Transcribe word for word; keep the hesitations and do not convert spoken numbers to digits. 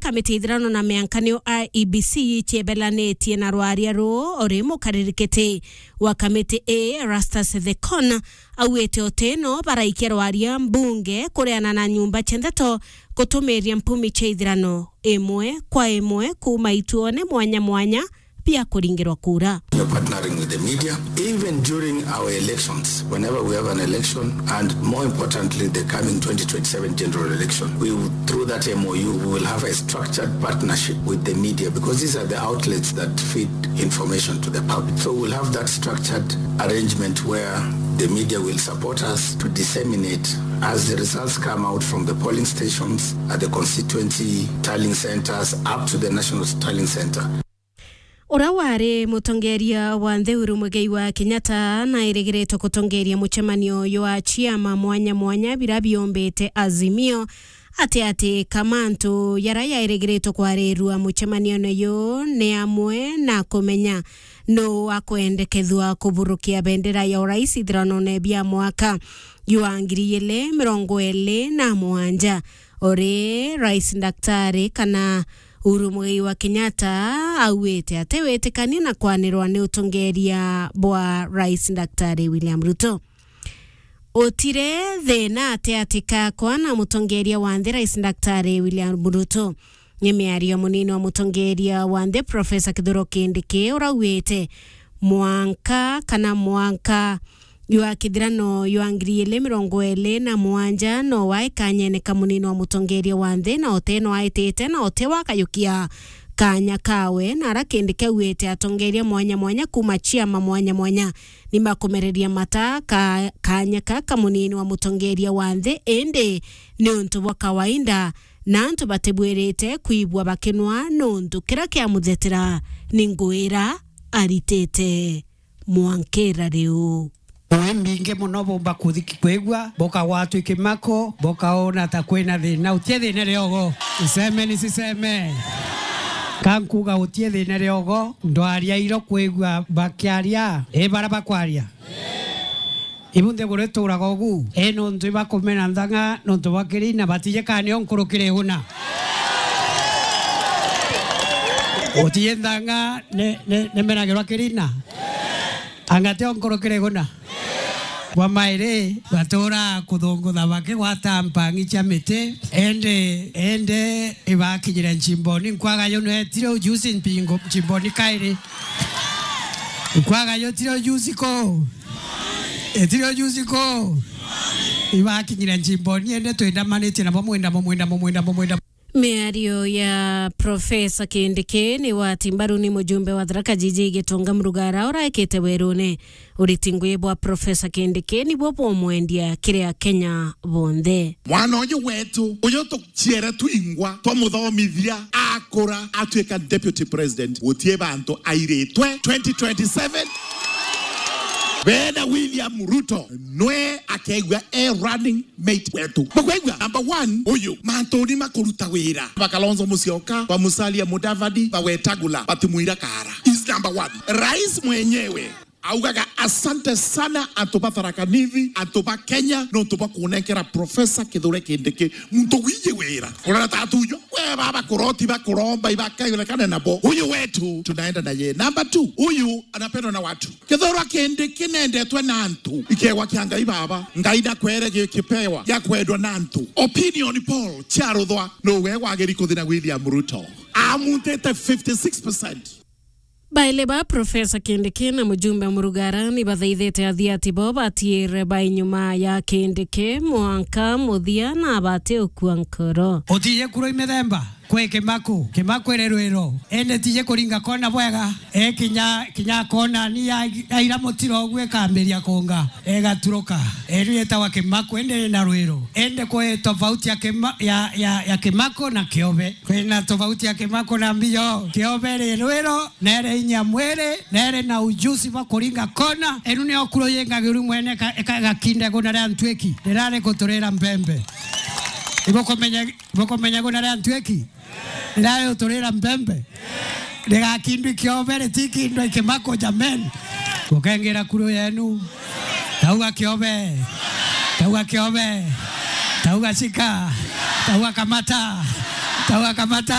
Kamiti ya ithirano na mianka niyo I E B C ichiebelanitie na rwaria ruu, uri mukaririkiti wa kamiti ii, Erastus Thekon, auite utino baraikia rwaria mbunge kureana na nyumba cia ndeto gutumiria mpumi cia ithirano imwe kwa imwe kuuma ituone mwanya mwanya bia kuringirwa kura. You're partnering with the media, even during our elections, whenever we have an election, and more importantly, the coming twenty twenty-seven general election. We will, through that M O U, we will have a structured partnership with the media, because these are the outlets that feed information to the public. So we'll have that structured arrangement where the media will support us to disseminate as the results come out from the polling stations, at the constituency tallying centres, up to the national tallying centre. Uria wari mutongeria wa nthi Uhuru Muigai wa Kenyatta nairigiritwe gutongeria mucemanio jwa ciama mwanya mwanya bira biombite Azimio, ati ati ka mantu jaria jairigiritwe kwarirua mucemanioine juu ni amwe na kumenya nuu akwendekethua kuburukia bendera ya urais ithiranone bia mwaka jwa ngiri igiri mirongo iri na mugwanja, uri Rais Daktari kana Uhuru Muigai wa Kenyatta auite ati witikania na kwanirwa ni utongeria bwa Rais Daktari William Ruto. Utire thina ati ati kakwa na mutongeria wa nthi Rais Daktari William Ruto. Ni miario munini wa mutongeria wa nthi Professor Kithure Kindiki urauite mwanka kana mwanka jwa kithirano jwa ngiri igiri mirongo iri na mugwanja no wae kanyene ka munini wa mutongeria wa nthi, na uti no aitite, na uti wakayukia kanya kawe, na ara Kindiki auite atongeria mwanya mwanya kuuma ciama mwanya mwanya ni makumereria mata ka, kanya ka ka munini wa mutongeria wa nthi, indi ni untu bwa kawaida, na antu batibwirite kwigua bakinwa nuntu kira kiamuthetera ni ngui ira aritite mwankira riu. Ngui mbingi mono bumba kuthi-, kwigua, bukagwatwa i kimako, bukaona ta kwina thina. Utie thina riogo. Iseme ni siseme. Ka nkuga utie thina riogo, ndwaria iro kwigua bakiaria, i bara bakwaria. Ibu nthiguru ituraga ugu, i nuntu ibakumena nthang'a nuntu bwa kirina, batije kana nio nkurukire iguna. Utije nthang'a ni, ni, nimenagirwa kirina. Anga tio nkurukire iguna. Bwa mairi, batura kuthungutha bakigwata mpang'i cia miti, indi, indi ibakinyire Nchimboni. Nkwaga yo nwetire ujuzi mpingo, Nchimboni kairi. Nkwaga yo tire ujuzi ko. Etire ujuzi ko. Ibakinyire Nchimboni, ende twendamanitie nabo mwendamo, mwendamo, mwendamo, mwendamo. Miario ya Professor Kindiki ni wati mbaru ni mujumbe wa Tharaka Jiji Gitonga Murugara uraikite werune. Uriti ngui bwa Professor Kindiki nibuo bumwendia kiri Akenya bonthe. Mwana uyu wetu, uyu tuciere twingwa, twamuthomithia, akura, atuika deputy president, gutie bantu airitwe twenty twenty-seven. Bena William Ruto, nwe akegua e running mate wetu. Mukwaigua? Number one, uyu, mantuni makuruta wira. Ba Kalonzo Musyoka, ba Musalia Mudavadi, ba Wetangula, batimwira kara. Is number one. Rais mwenyewe augaga, "Asante sana antu ba Tharaka Nithi, antu ba Kenya, nontu bwa kunenkera Professor Kithure Kindiki muntu wiji wira." Urona tatujo? We baba kuroti bakuromba ibakaionekane nabo. Huyu wetu tunaenda na yeye. Number two, huyu anapendwa na watu. Kithure Kindiki nendetwe na antu. Ikegwa kia Ngai baba. Ngai nakwere gi-, kipewa gia kwendwa na antu. Opinion poll cia ruthwa. No we wagiri kuthi na William Ruto. Amutite fifty-six percent. Baile ba Professor Kindiki na mujumbe Murugara ni bathaithite athiati bo batiire ba inyuma ya Kindiki mwanka muthia na bati ukua nkoro. Utije kuro imethemba kwi Kimaku, Kimaku iri rwiro, indi tije kuringa kona bwega. E kinya, kinya kona ni ya, ya ira mutiro ugu ikambiria kunga, igaturuka. Iri yetawa Kimaku, indi iri na rwiro. Indi kwi tofauti ya Kima-, ya, ya, ya Kimaku na Kiobe. Kwina tofauti ya Kimaku na Mbio. Kiobe iri rwiro, nere inya mwiri, nere na ujuzi bwa kuringa kona. Enu nio kuro yengagiru mwene ka-, ka-, gakinde guna ria ntwiki. Rirari kuturira mbembe. Ibukumenya, ibukumenya guna ria ntwiki? Rirari guturira mbembe. Rigakindwi Kiobe, ritikindwe Kimaku, jameni. Gukengira kuro yenu. Tauga Kiobe. Tauga Kiobe. Tauga shika. Tauga kamata. Tauga kamata.